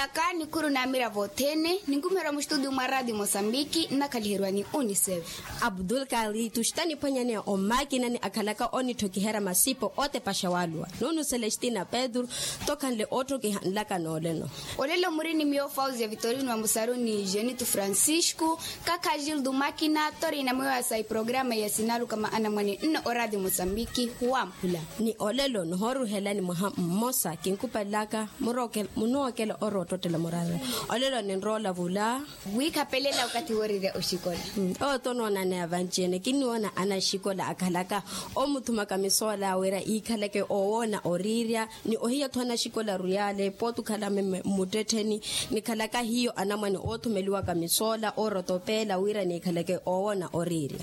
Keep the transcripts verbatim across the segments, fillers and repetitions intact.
Aka nikhuru n'amiravo othene ninkumiherya mustudio mwa radio mosambiki nnakhaliheriwa ni unicef. Abdul kalitu xitaniphwanyaneya omakinani akhalaka onithokiherya masipo ootepaxa waluwa. Nunu celestina pedro tokhanle ootthokiha nlaka nooleno. Olelo muri ni miyo fausia vitorino wa musaruni jenitu francisco, kakha jildu makina torina mwiwasa iprograma ya sinaluka maana mwani nno oradio mosambiki huwamphula. Ni olelo nihooruhelani mwaha mmosa kinkupalelaka munookela oroottottela murarela. Olelo ninroola vula. Wiikhapelela okathi woorirya oxikola. Oto noonaneya vanci-ene kinniwoona anaxikola akhalaka omuthumaka misoola wira iikhaleke oowoona oriirya. Ni ohiya-tho anaxikola ruyale pooti okhala mmuttettheni nikhalaka hiyo anamwane oothumeliwaka misoola oorotopeela wira niikhaleke oowoona oriirya.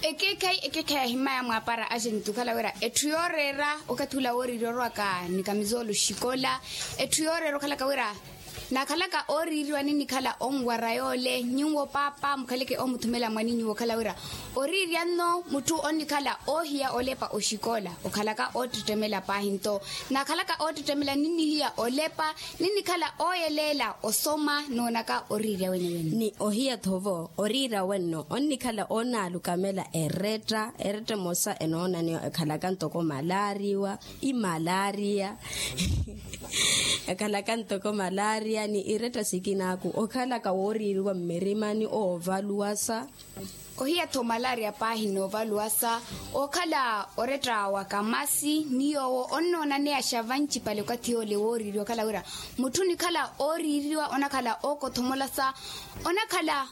Ekeekhayi ekeekhayi ahimaya mwaapara axeni tukhala wira etthu yooreera okathi ula wooriirya orowaka ni kamisoolo xikola. Etthu yooreera okhalaka wira naakhalaka ooriiriwa ninnikhala onwara yoole nyuwo paapa mukhaleke omuthumela mwaninyu wokhala wira oriirya nno mutthu onnikhala oohiya olepa oxikola okhalaka oottettemela paahi nto naakhalaka oottettemela ninnihiya olepa ninnikhala ooyeleela osoma noonaka oriirya wenewene. Ni ohiya-tho vo oriirya wenno onnikhala oonaalukamela eretta eretta emosa enoonaneya ekhalaka ntoko malaariwa imalaariya. Ekhalaka ntoko malaariya ni iretta sikinaaku okhalaka wooriiriwa mmirimani oovaluwasa. Ohiya-tho malaariya paahi noovaluwasa okhala oretta wa kamasi ni yoowo onnoonaneyaxa vancipale okathi yoole wooriiriwa okhala wira mutthu onikhala ooriiriwa onakhala ookothomolasa onakhala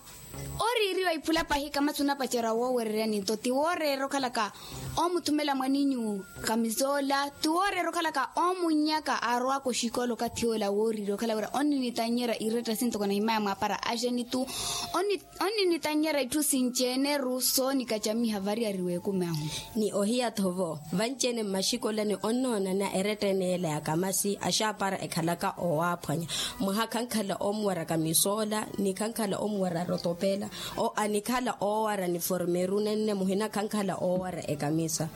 ooriiriwa iphula paahi kamasi onapacerya woowereryani nto ti wooreera okhalaka omuthumela mwaninyu kamisola ti wooreera okhalaka oomunnyaka aarowaka oxikola okathi yoola wooriiriwa okhala wira onninitanyerya iretta sintoko nahimaya mwaapara axeni tu onninitanyerya itthu sinci-ene-ru soonikacamiha variyari w'ekumi ahu. Ni ohiya-tho vo vanci-ene mmaxikolani onnoonana eretta ene yeela ya kamasi axaapara ekhalaka owaaphwanya mwaha khankhala omuwaraka misoola ni khankhala omuwara rotopeela anikhala oowara niformeru nenne muhina khankhala oowara ekamisa.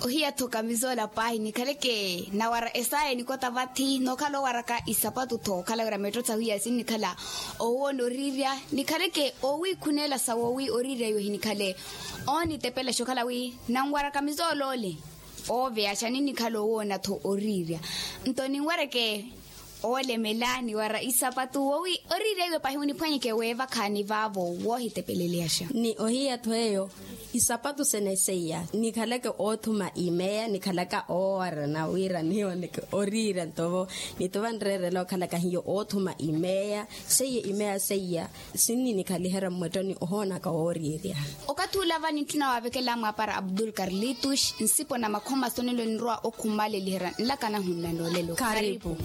Ohiya-tho kamisoola paahi nikhaleke nawara esaya enikota vathi nookhala oowaraka isapatu-tho okhala wira meetto sahu iya sinnikhala owoona oriirya nikhaleke oowiikhuneela sa woowi oriirya iwe hinikhale oonitepelaxa okhala wi nanwaraka misooloole ooveyaxa ninnikhala owoona-tho oriirya nto ninwareke oolemela niwara isapatu woowi oriirya iwe paahi oniphwanyeke weevakhaani vaavo woohitepeleleyaxa. Ni ohiya-tho eyo isapatu sene seiya nikhaleke oothuma imeya nikhalaka oowarana wira nihiwoneke oriirya ntovo nituva nreerela okhalaka hiyo oothuma imeya seiya imeya seiya sinni nikhaliherya mmwettoni ohoonaka wooriirya. Okathi ula vani ntthuna waavekela mwaapara abdul karlitus nsipo na makhoma sonelo ninrowa okhumaaleliherya nlaka nahunna noolelo karipu.